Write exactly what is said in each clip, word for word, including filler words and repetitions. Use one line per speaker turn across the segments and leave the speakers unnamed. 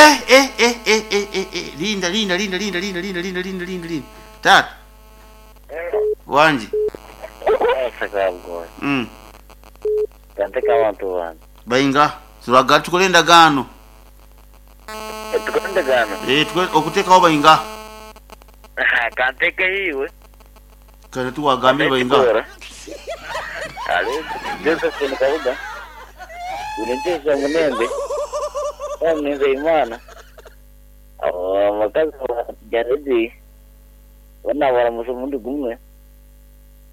Eh, eh, eh, eh, eh, eh, eh. Linda, linda, linda, linda, linda, linda, linda, linda, linda, linda. Tata. Wangi.
Sakabgoy.
Mm.
Kanteka abantu bange.
Bainga. Turaga tukole endagaano.
Tukole endagaano.
Eh, tukole okuteekawo bainga.
Kanteka iwe.
Kale tuwagambire bainga.
Ale, Josephine Kabuga. Ulinjeza munembe. Wamnenze imana. Abakazi jaredi. Wana baramusa omundi gumwe.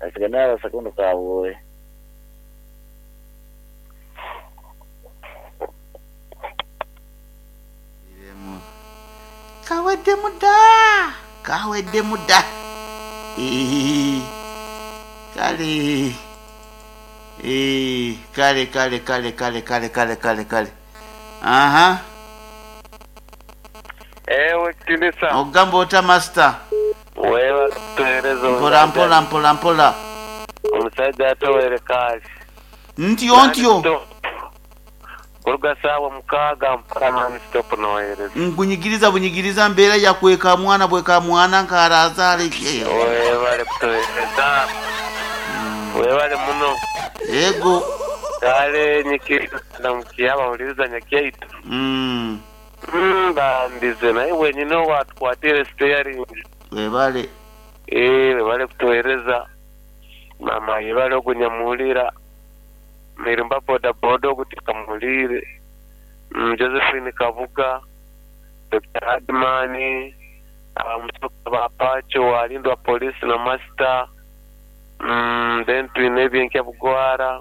Asiga n'abasakondo kabwoye.
Kawedde muda. Kawedde muda. Eh, kale. Eh, kale kale kale kale kale kale kale kale. Aha.
Ewe kitinisa.
Ogamba ota master.
Wewe tuhereza.
Mpola mpola mpola mpola.
Omusajja atowere kazi.
Ntyo ntyo.
Kuruga sawa mukaaga mpaka non stop nohereza.
Nkunyigiriza bunyigiriza mbeera ya kweka mwana bweka mwana nkarazaale.
Webale kutuhereza. Webale muno.
Ego.
Kale nyikiriza ndamukiya bahuriza nyakyaitu.
Mm.
Mm, bandize naye wenyine watukwatire steering.
Webale.
Eh, webale kutuhereza. Mama yebale okunyamuhurira. Mirimba boda boda okutikamuhurire. Mm, Josephine Kabuga, Doctor Admani, abamusoka ba Pacho walindwa polisi na master. Mm, then twine ebyenkya bugwara.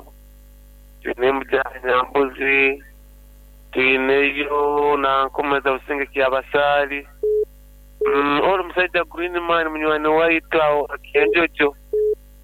Twine mujanya mbuzi. Twineyo na nkomeza businge kyabasali. Mm, ori musajja Green Man munywani waitu awo akenjojo.